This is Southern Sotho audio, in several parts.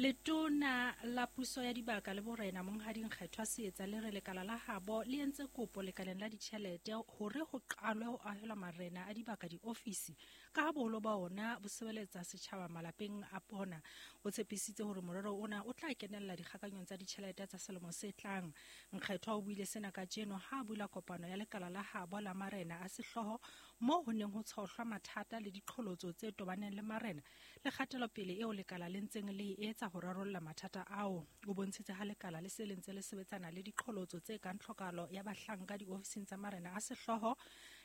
Letona la Puso ya Dibaka le Borena Monghadi Nkgethwa Seetsa le re lekala la habo le entse kopo lekaleng la ditjhelete hore ho qalwe ho ahelwa marena a dibaka diofisi ka ha boholo ba ona bo sebeletsa setjhaba malapeng a bona. O tshepisitse hore morero ona o tla kenella dikgakanyong tsa ditjhelete tsa selemo se tlang. Nkgethwa o buile sena kajeno ha a bula kopano ya lekala la habo la marena a sehlooho moo ho neng ho tshohlwa mathata le diqholotso tse tobaneng le marena le kgatelopele eo lekala le ntseng le e etsa ho rarolla mathata ao. O bontshitse ha lekala le se le ntse le sebetsana le diqholotso tse kang tlhokahalo ya bahlanka diofising tsa marena a sehlooho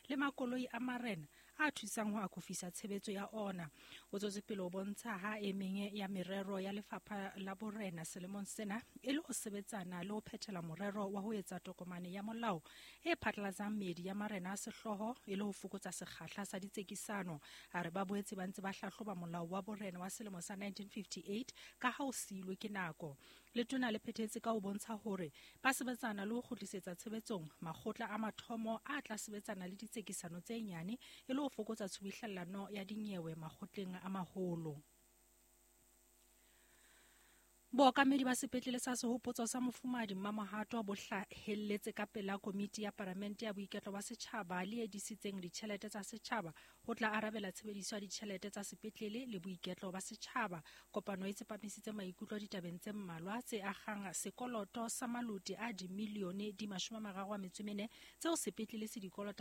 le makoloi a marena a thusang ho akofisa tshebetso ya ona. O tswetse pele ho bontsha ha e meng ya merero ya lefapha la borena selemong sena e le ho sebetsana le ho phethela morero wa ho etsa tokomane ya molao e phatlalatsang meedi ya marena a sehlooho e le ho fokotsa sekgahla sa ditsekisano. A re ba boetse ba ntse ba hlahloba molao wa borena wa selemo sa 1958 ka ha o siilwe ke nako. Letona le phethetse ka ho bontsha hore ba sebetsana le ho kgutlisetsa tshebetsong makgotla a mathomo a tla sebetsana le ditsekisano tse nyane e le ho fokotsa tshubuhlellano ya dinyewe makgotleng a maholo. Bookamedi ba sepetlele sa Sehopotso sa Mofumahadi Mmamohato bo hlahelletse ka pela komiti ya Paramente ya Boiketlo ba Setjhaba le e disitseng ditjhelete tsa setjhaba ho tla arabela tshebediso ya ditjhelete tsa sepetlele le boiketlo ba setjhaba. Kopano e tsepamisitse maikutlo ditabeng tse mmalwa tse akgang sekoloto sa maloti a dimilione di 34 tseo sepetlele se di kolotang.